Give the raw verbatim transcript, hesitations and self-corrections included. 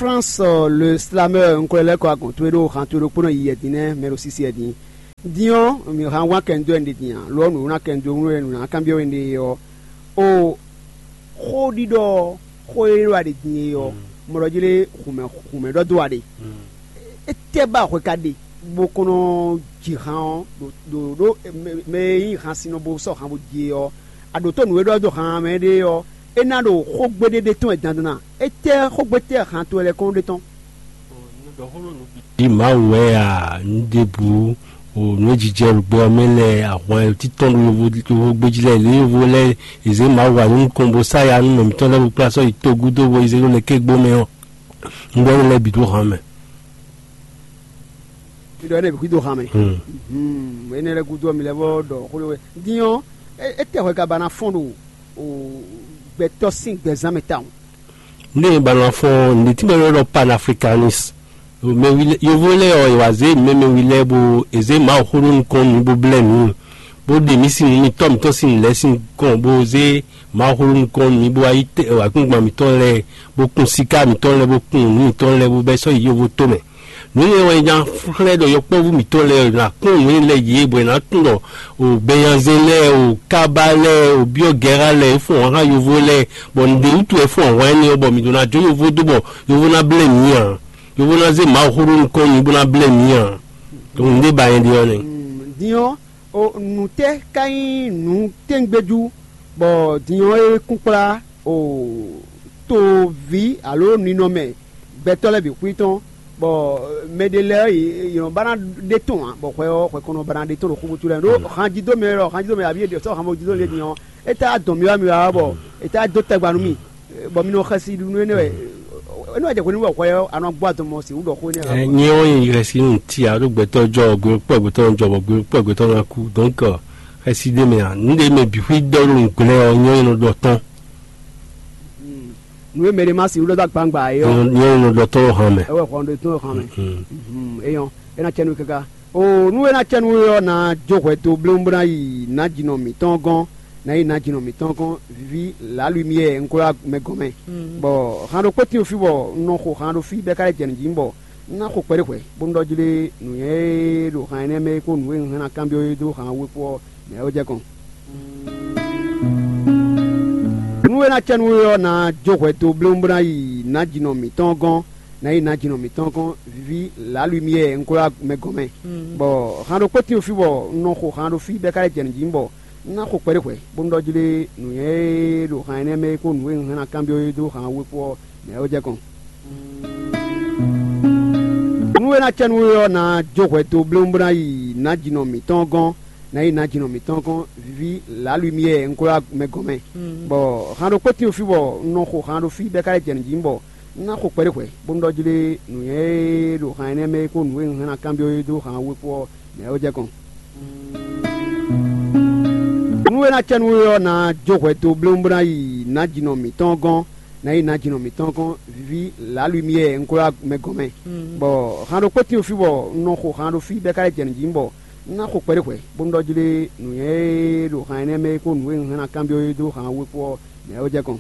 Flans, le slameur, un ko lɛ́ kɔ agɔn towe ɖó han towe ɖokpónɔ yi yɛdin nɛ́ mɛ ɖo sísí yɛdin. Din ɔ́, mǐ hán wán kɛndo wɛ un ɖe din ǎ, lo ɔ́, nǔ ná kɛndo wɛ nǔ ná kanbyɔ́ we un ɖe ɔ́, o xó ɖiɖɔ ɔ́, xó e ɖo aɖe din e ɔ́, mɔ ɖɔ jlé hǔnmɛ hǔnmɛ ɖɔ dó aɖe. Étɛ́ ba hwɛ ka ɖe bó kɔn nɔ ji han ɔ́, ɖo ɖo ɖo mɛ e nyí han sinnɔ bó sɔ́ han bó ji é ɔ́, aɖǒtó nǔ e ɖɔ dó han mɛ ɖe ɔ́, é ná ɖo xógbe ɖé ɖe tɔn wɛ dandan a? Étɛ́ xógbe tɛ́ han towe lɛ́ɛ kɔn ɖe tɔn? Ɖi Mawu wɛ a? Nǔɖébǔ o nǔ e jijɛ ɖo gbɛ ɔ́ mɛ lɛ́ɛ, ahwan e títɔn ɖo yovo yovo gbéjí lɛ́ɛ, lě yovo lɛ́ɛ è zě Mawu wǎ nú nukɔn bó sá ya nú mɛ mǐtɔn lɛ́ɛ bó kplá sɔ́ yi togúdo bó yi zé ɖó lɛkɛ́gbó mɛ ɔ́, un ɖɔ énɛ́ lɛ́ɛ bǐ dó han mɛ. Mi ɖɔ énɛ́ bǐ xwí dó han mɛ. Hmm. Hmm, énɛ́ lɛ́ɛ gúdo ɔ́, mi lɛ́ vɔ ɖɔ xó ɖé wɛ. Din ɔ́, é- étɛ́ hwɛ ka ba ná fɔ́n ɖo o gbɛtɔ́ sín gbɛzán mɛ tawun? Nde ba na fɔn nde tí bɔ yɔ́ ɖɔ panafricanis. Mɛ wi lɛ- yovo lɛ ɔ, wa zé mɛ mɛ wi lɛ bo eze Mawu xó ɖó nukɔn nú bó blɛ nǔ, bó ɖe mí sin nú mitɔ mitɔ sin lɛ sin kɔn bó zé Mawu xó ɖó nukɔn nú mí bó wá yi tɛ akúngban mitɔ lɛ, bó kun sika mitɔ lɛ, bó kun nǔ mitɔ lɛ, bó bɛ sɔ́ yi yovo tó mɛ. Nǔ nyɛ wɛ nya xlɛ́ ɖɔ yɔkpɔ́vú mǐtɔn lɛ́ɛ ná kpɔ́n nǔ e lɛ́ɛ yě bɔ è nǎ tunwun ɖɔ o Bɛnyazɛn lɛ́ɛ, o Kaba lɛ́ɛ, o Byɔ́gɛra lɛ́ɛ, é fɔ́n hɔn xá yovo lɛ́ɛ, bɔ nǔɖé wútu wɛ fɔ́n hɔn énɛ́ ɔ́, bɔ mǐ ɖó ná jó yovo dó bɔ yovo ná blɛ́ mǐ ǎ. Yovo ná zé Mawu xó ɖó nukɔn nyi bó ná blɛ́ mǐ ǎ. Donc nǔɖé ba nyɛ ɖe ɔ́ nɛ́. Din ɔ́, o nǔ tɛ́ ka nyí nǔ tɛ́ngbéjú bɔ din ɔ́ é kún kplá o toví alo ninɔmɛ gbɛtɔ́ lɛ́ɛ bǐ xwí tɔn, bɔ mɛ ɖé lɛ́ɛ ɔ́, yě nɔ ba ná ɖe tɔn ǎ, bɔ hwɛ ɔ́, hwɛ kɔn nɔ ba ná ɖe tɔn ɖo xúxútu lɛ́ɛ ɖó han jí dó mɛ lɔ han jí dó mɛ abǐ è sɔ́ han mɔ jí dó lě din ɔ́, é tá dɔn mì wá mi wá bɔ é tá dó tagba nú mì, bɔ mi nɔ xɛsi nú énɛ́ wɛ énɛ́ wɛ jɛ hwenu wɛ hwɛ ɔ́, a nɔ gbɔ adɔmɔ si wú ɖɔ xó énɛ́ ǎ. Nyɛ ɔ́ nyi xɛsi nú ti alo gbɛtɔ́ jɔ gbɛtɔ́ gbɛtɔ́ jɔ bɔ gbɛtɔ́ gbɛtɔ́ ná kú. Donc xɛsi ɖé mɛ ǎ, nǔɖé mɛ bǐ xwí dɔ ɖo nǔgblɛ́ ɔ́, nyɛ nɔ ɖɔ tɔn. Nǔ e mɛ ɖé ma si wú ɖɔ dó agbangba é ɔ́, nyɛ nɔ ɖɔ tɔn ɖo han mɛ. É wɛ hɔn ɖo tɔn ɖo han mɛ. Eyɔn, é ná cɛ nú káká. O nú é ná cɛ nú we ɔ́, ná jó hwɛ dó blómú bó ná yi nǎjínɔ mǐtɔn gɔ́n, ná yi nǎjínɔ mǐtɔn gɔ́n, viví lǎlwimyɛ un ko ɖo mɛ gɔn mɛ. Bɔ han ɖokpó tín fí bɔ un nɔ xo han ɖo fí bɔ é ka lɛ́ jɛ nǔ jí bɔ un ná xo kpɛɖé hwɛ̌, bónú ɖɔ jí ɖé nǔnywɛ́ e ɖo han énɛ́ mɛ é kpó nǔ e un hɛn ná kanbyɔ́ é dó han we kpó ɔ́, mɛ ɔ́ jɛ kɔn. Nú é ná cɛ nú we ɔ́, ná jó hwɛ dó blómú bó ná yi nǎjínɔ mǐtɔn gɔ́n, ná yi nǎjínɔ mǐtɔn gɔ́n, viví lǎlwimyɛ un ko ɖo mɛ gɔn mɛ. Bɔ han ɖokpó tín fí bɔ un nɔ xo han ɖo fí bɔ é ka lɛ́ jɛ nǔ jí bɔ un ná xo kpɛɖé hwɛ̌, bónú ɖɔ jí ɖé nǔnywɛ́ e ɖo han énɛ́ mɛ é kpó nǔ e un hɛn ná kanbyɔ́ é dó han we kpó ɔ́, mɛ ɔ́ jɛ kɔn. Nú é ná cɛ nú we ɔ́, ná jó hwɛ dó blómú bó ná yi nǎjínɔ mǐtɔn gɔ́n, ná yi nǎjínɔ mǐtɔn gɔ́n, viví lǎlwimyɛ un ko ɖo mɛ gɔn mɛ. Bɔ han ɖokpó tín fí bɔ un nɔ xo han ɖo fí bɔ é ka lɛ́ jɛ nǔ jí bɔ un ná xo kpɛɖé hwɛ̌, bónú ɖɔ jí ɖé nǔnywɛ́ e ɖo han énɛ́ mɛ é kpó nǔ e un hɛn ná kanbyɔ́ é dó han we kpó ɔ́, mɛ ɔ́ jɛ kɔn. Nú é ná cɛ nú we ɔ́, ná jó hwɛ dó blómú bó ná yi nǎjínɔ mǐtɔn gɔ́n, ná yi nǎjínɔ mǐtɔn gɔ́n, viví lǎlwimyɛ un ko ɖo mɛ gɔn mɛ. Bɔ han ɖokpó tín fí bɔ un nɔ xo han ɖo fí bɔ é ka lɛ́ jɛ nǔ jí bɔ un ná xo kpɛɖé hwɛ̌, bónú ɖɔ jí ɖé nǔnywɛ́ e ɖo han énɛ́ mɛ é kpó nǔ e un hɛn ná kanbyɔ́ é dó han we kpó ɔ́, mɛ ɔ́ jɛ kɔn.